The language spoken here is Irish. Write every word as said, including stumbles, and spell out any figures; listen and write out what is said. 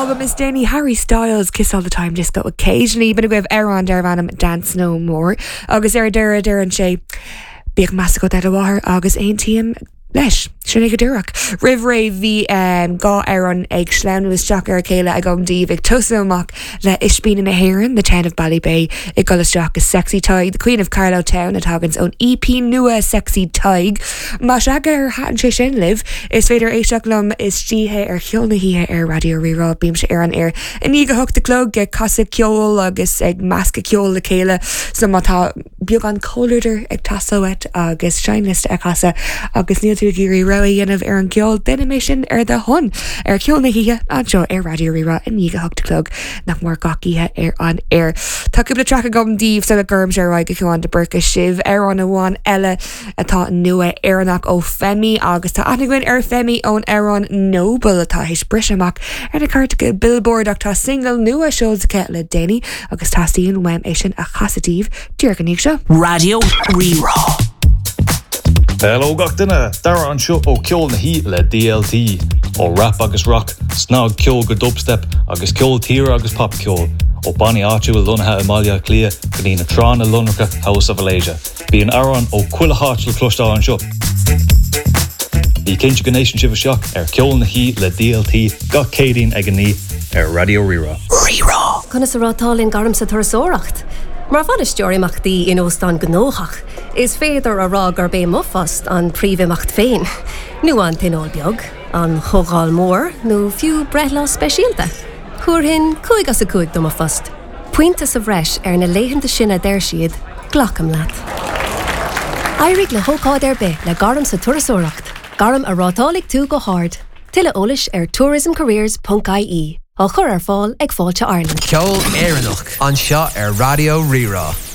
Albam is déanaí Harry Styles Kiss All the Time Disco Occasionally b'in agaibh amhrán darb ainm Dance No More agus ar deireadh deireann sé Bíodh meas agat ar do mháthair agus aontaím leis sin é go díreach. Roimh ré bhí um, dhá amhrán ag sleamhnú isteach ar a chéile agam daoibh ag tosú amach le Ispíní na hÉireann, the town of Ballybay ag dul isteach go Sexy Tadhg, the Queen of Carlow Town a thaganns ón EP nua Sexy Tadhg. Má sea gur thaitin sé sin libh, is féidir éisteacht liom istoíche ar Cheol na hOíche ar Raidió Rí-Rá bímse ar an aer. I ndiaidh a hocht a chlog ag casadh ceol agus ag meascadh ceol le chéile so má tá beagán comhluadar ag teastáil uait agus seinnliosta a chasadh agus níl tú ag iarraidh rogha a dhéanamh ar an gceol déanfaidh mé sin ar do shon ar Cheol na hOíche anseo ar Raidió Rí-Rá i ndiaidh a hocht a chlog nach mór gach oíche ar an aer. Tá cúpla traic agam daoibh sula gcuirimse ar aghaidh go Cian de Burca sibh amhrán amháin eile atá nua Éireannach ó Femi agus tá aithne againn ar Femi ón amhrán Noble atá théis briseadh amach ar na cairteacha Billboard ach tá single nua seolta le déanaí agus teastaíonn uaim é sin a chasadh daoibh díreach i ndiaidh seo. Raidió Rí-Rá. Hello gach duine Dara anseo ó Ceol na hOíche le DLT ó rap agus rock, snagcheol go dubstep agus ceol tíre agus popcheol ó bannaí áitiúil lonnaithe i mBaile Átha Cliath go dtí na tránna lonracha House of Malaysia. Bíonn amhráin ó chuile háit le cloisteáil anseo. Bí cinnte go n-éisteann sibh isteach ar Ceol na hOíche le DLT gach Céadaoin ag a naoi ar Raidió Rí-Rá. Rí-Rá. Conas a rátálann gairm sa turasóireacht. Mar bhainisteoir imeachtaí in óstán gnóthach, is féidir a rá gurb é mo phost an príomhimeacht féin. Nó an tionól beag, an chomhdháil mhór nó fiú breithlá speisialta. Thabharfainn cúig as a cúig do mo phost. Pointe sa bhreis ar na laethanta sin a deir siad, glacaim leat. Éirigh le hócáid ar bith le gairm sa turasóireacht, gairm a rátálfaidh tú go hard. Tuilleadh eolais ar tourismcareers.ie á chur ar fáil ag Fáilte Ireland. Ceol Éireannach anseo ar Raidió Rí-Rá.